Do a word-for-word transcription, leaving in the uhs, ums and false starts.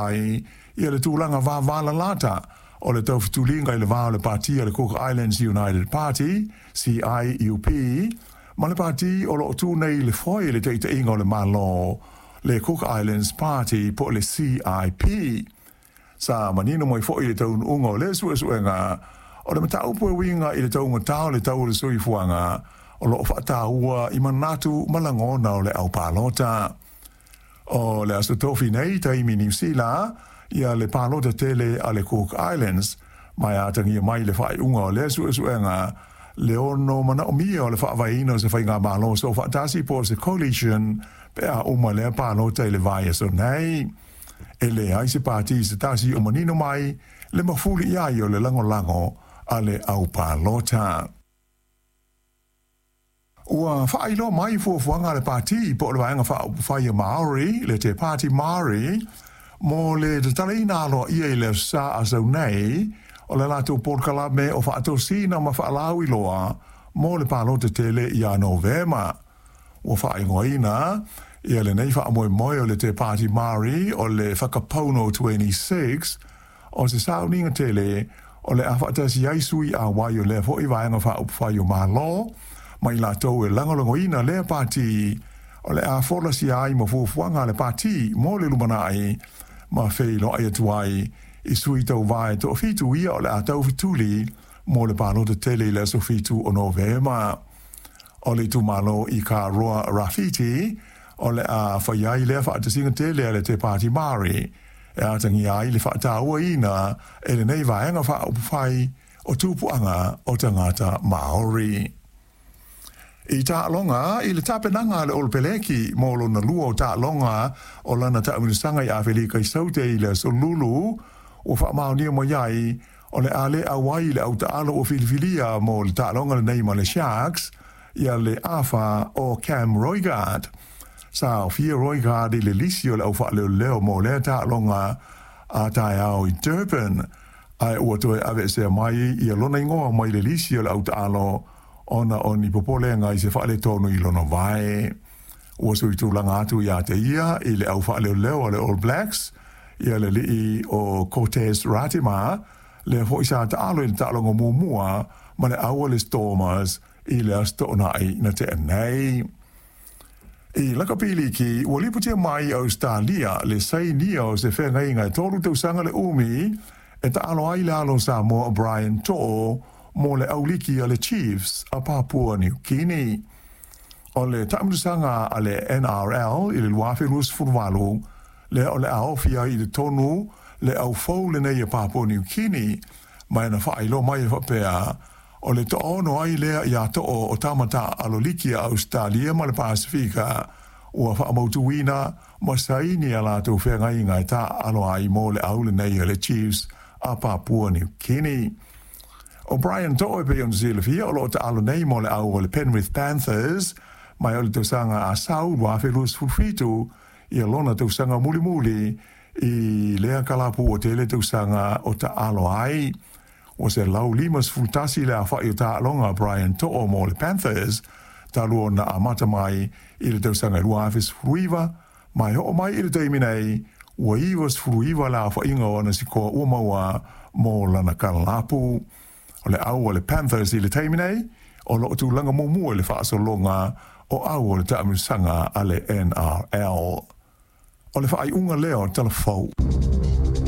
Ai ia le tulaga vavalalata o le taufetuliga i le va o le pati a le Cook Islands United Party, C I U P, ma le pati o loo tu nei i le foe i le taitaiga o le Malo, le Cook Islands Party po o le C I P. Sa manino mai foi le taunuuga o lea suesuega o le mataupu e uiga i le taugata o le tau o le soifuaga o loo faataua i manatu ma lagona o le aupalota. O le aso tofi nei taimi Niu Sila ia le palota tele a le Cook Islands, ma e atagia mai le faaiuga o lea suesuega le ono manaomia o le faavaeina o se faigamalo soofaatasi po o se coalition pe a uma lea palota i le vaiaso nei. E leai se pati se tasi o manino mai le mafuli i ai o le lagolago a le aupalota. Ua faailoa mai fuafuaga a le pati po o le vaega faaupufai a Maori, le Te Pāti Māori, mo le tatalaina aloaia i le Aso Sa a sau nei o le latou polokalame o faatosina ma faalauiloa mo le palota tele ia Novema. Ua faaigoaina ia lenei faamoemoe o le Te Pāti Māori o le Whakapono twenty-six o se sauniga tele o le a faatasi ai sui auai o lea foi vaega faaupufai o Malo ma i latou e lagolagoina lea pati o le a folasia ai ma fuafuaga a le pati mo le lumanai ma feiloai atu ai i sui tauvae toafitu ia o le a taufetuli mo le palota tele i le aso fitu o Novema. O le itumalo i ka Roa Rāwhiti o le a fai ai lea faatasiga tele a le Te Pāti Māori e atagia ai le faatauaina e lenei vaega faaupufai o tupuaga o tagata Māori. I taaloga i le tapenaga a le Olopeleki mo lona lua o taaloga o lana taamilosaga i Afelika i Saute i le aso Lulu, ua faamaonia mai ai o le a le auai le autaalo ua filifilia mo le taaloga lenei ma le Sharks ia le afa o Cam Roigard. Sa aofia Roigard i le lisi o le aufaaleoleo mo lea taaloga a taeao i Durban, ae ua toe aveesea mai ia lona igoa mai le lisi o le autaalo ona o ni popolega i se faaletonu i lona vae. Ua suitulaga atu ia te ia i le aufaaleoleo a le All Blacks ia le alii o Cortez Ratima, lea foi sa taalo i le taaloga muamua ma le au a le Stormers i le aso toonai na tea nei. I lakapiliki, ua lipotia mai Australia le sainia o se feagaiga e tolu tausaga le umi e taalo ai le alo Samoa Brian To'o mo le auliki a le Chiefs a Papua New Guinea. O le taamilosaga a le N R L i le lua afe luasefulu valu, lea o le a ofi ai i le tonu le aufou lenei a Papua New Guinea, ma e na faailoa mai e faapea o le toaono ai lea ia to'o o tamata aloliki a Australia ma le Pasifika ua faamautuina ma saini a latou feagaiga e taalo ai mo le au lenei a le Chiefs a Papua New Guinea. O Brian To'o e pei ona silafia o loo taalo nei mo le au o le Penrith Panthers mai o le tausaga a sau lua afe luasefulu fitu ia lona tausaga mulimuli i lea kalapu o tele tausaga o taalo ai. Ua se lau limasefulu tasi le afa'i o taaloga Brian To'o mo le Panthers talu ona amata mai i le tausaga lua afe sefulu iva, mai oo mai i le taimi nei ua ivasefulu iva le afa'iga o ana sikoa ua maua mo lana kalapu. O le au o le Panthers i le taimi nei o loo tulaga muamua i le faasologa o au o le taamilosaga a le N R L. O le faaiuga lea o le talafou.